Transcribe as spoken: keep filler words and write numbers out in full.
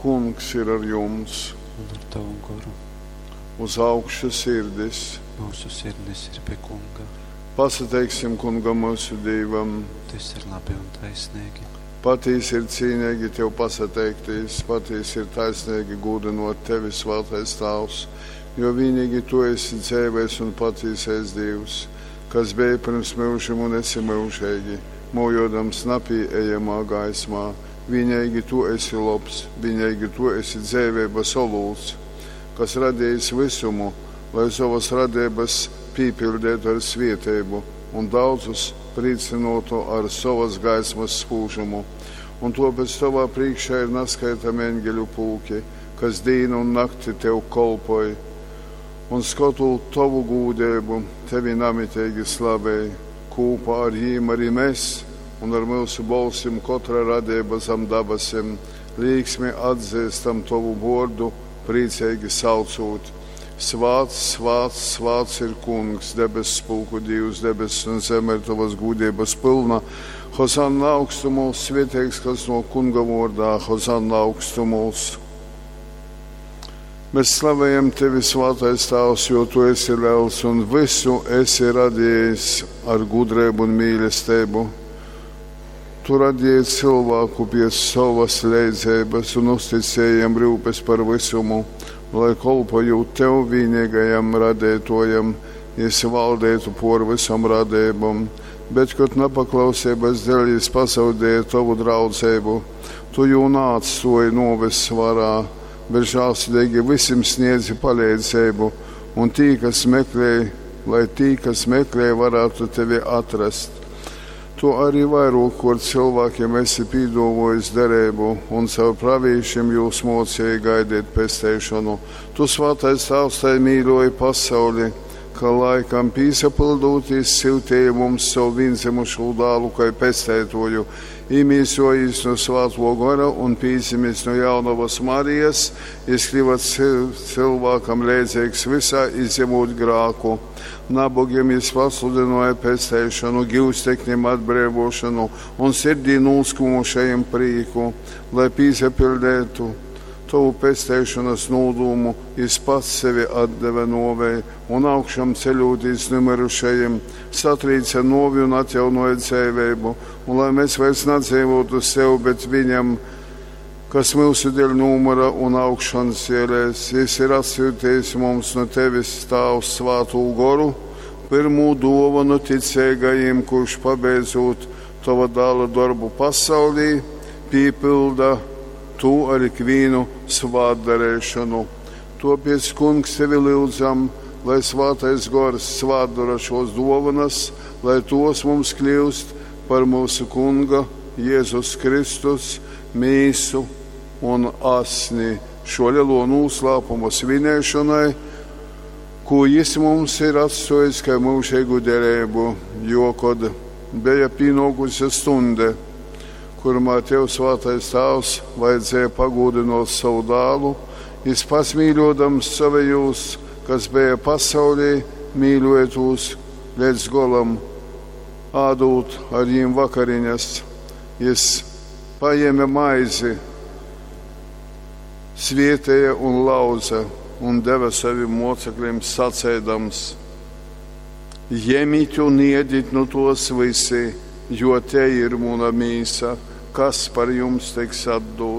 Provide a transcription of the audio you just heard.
Kungs ir ar jums! Un ar tavu goru. Uz augšu sirdis! Mūsu sirdis ir pie Kunga. Pasateiksim Kungam mūsu Dīvam! Tas ir labi un taisnīgi. Patīsi ir cīnīgi Tev pasateiktīs, patīsi ir taisnīgi gūdinot Tevi, Svētais Tāvs, jo vienīgi Tu esi dzēvais un patīsais Dievs, kas bija pirms myužim un esi myužīgi, mojodams napieejamā gaismā. Vienīgi Tu esi lobs, vienīgi Tu esi dzēvības olūts, kas radījis visumu, lai savas radības pīpildētu ar svietēbu un daudzus priecinotu ar savas gaismas spūžumu. Un tāpēc tavā priekšā ir naskaitami eņģeļu pulki, kas dīnu un nakti tev kolpoj. Un skotot tavu gūdību, tevi namitīgi slavēj, kūpā ar jīm arī mēs, un ar mūsu bolsim katra radība zem dabasim, līksmi atzīstam tavu vordu, priecīgi saucot. Svāts, svāts, svāts ir Kungs, debesu spulku Dievs, debesis un zeme ir tavas gūdības pilna. Hozanna augstumos, svētīgs, kas no Kunga vārdā, Hozanna augstumos. Mēs slavējam tevi, Svētais Tēvs, jo tu esi liels un visu esi radījis ar gudrību un mīlestību. Tu radīji cilvēku pie savas leidzības un uzticēji jam rūpes par visumu, lai kolpojot tev vienīgajam radētojam, jis valdētu por visam radībam. Bet, kad nepaklausības dēļ jis pazaudēja tavu draudzību, tu jū neatstoji noves varā, bet žēlsirdīgi visiem sniedzi palīdzību, un tī, kas meklē, lai tī, kas meklē, varētu tevi atrast. Tu arī vairākot cilvēkiem esi pīdovojis derību, un caur pravīšiem jūs mocīji gaidīt pesteišanu. Tu, Svētais Tēvs, tai mīļoji pasauli, ka laikam pīsapildūtīs siltīja mums savu vienzimušo dālu, kai pestētoju, imīsojīs no Svēto gara un pīzimis no jaunavas Marijas, jis kļuva cilvēkam leidzīgs visā, izņemot grāku. Nabogiem jis pasludināja pesteišanu, givstekņiem atbrīvošanu un sirdī noskumušajiem prīku, lai pīsapildētu tavu pesteišanas nodūmu, jis pats sevi atdeva novei un augšām ceļotīs numirušajiem, satrīca novi un atjaunoja dzēvību, un lai mēs vairs nedzīvotu sev, bet viņam, kas mūsu dēļ numura un augšanas ielēs, jis ir atsūtījis mums no tevis Tāvs Svātū goru, pirmo dāvanu ticīgajiem, kurš pabeidzot tava dāla darbu pasaulī, pīpilda tu ar ikvienu svātdarēšanu. Topiec, Kungs, tevi lūdzam, lai Svātais Gors svātdara šos dovanas, lai tos mums kļūst par mūsu Kunga Jēzus Kristus mīsu un asni šo lielo noslēpumu svinēšanai, ko jis mums ir atstājis kā mūžīgu derību, jo, kad bija pienākusi stunde, kurumā tev, Svētais Tēvs, vajadzēja pagūdinot savu dālu, jis pats mīļodams savējos, kas bija pasaulī, mīļoja tos līdz golam, ādūt ar jiem vakariņas. Jis paņēma maizi, svietēja un lauza un deva saviem mocekļiem sacēdams: Ņemiet un iediet no tos visi, jo te ir mana mīsa, kas par jums tiks atdota.